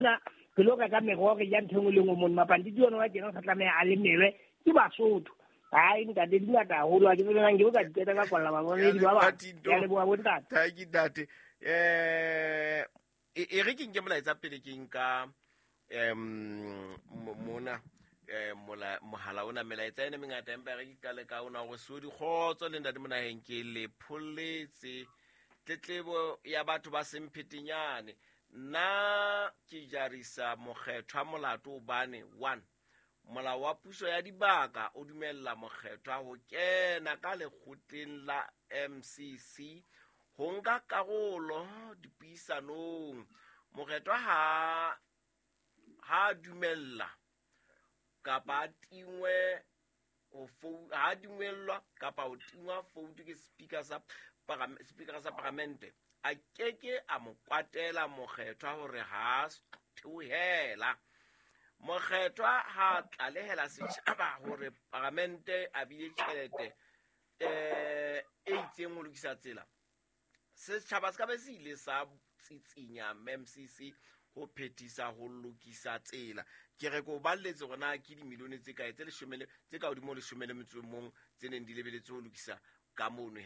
Mona re lo reka meroho, re ja ntho e nngwe le nngwe mono. Mapantiti ona wa tjena o sa tlameha a lemelwe ke Basotho. Hai ntate, di ngata haholo, ha ke tsebe nang ke bo ka di qeta ka kwalla bamamedi ba bang. Ke a leboha bontate. Thank you ntate. E re ke nke molaetsa pele ke nka mona mohala ona, melaetsa ena mengata, empa re ke qale ka ona gore so dikgotso le ntate monaheng ke le pholletse tletlebo ya batho ba semphetenyane. Nna ke jarisa mokgethwa molato hobane 1 molao wa puso ya dibaka o dumella mokgethwa ho kena ka lekgotleng la MCC ho nka karolo dipuisanong. Mokgethwa ha dumella kapa a tingwe ho ha dumellwa kapa ho tingwa foutu ke speaker sa speaker sa paramente, a keke a mo kwatela mokgethwa hore ha theohela. Mokgethwa ha tlalehela setjhaba hore paramente a bile tjhelete e itseng ho lokisa tsela, setjhaba se ka be se ile sa tsitsinya MCC ho phethisa ho lokisa tsela. Ke re ko balletse hore na ke dimilione tse kae tse leshome le tse ka hodimo ho 11 tse neng di lebeletse ho lokisa ka mono.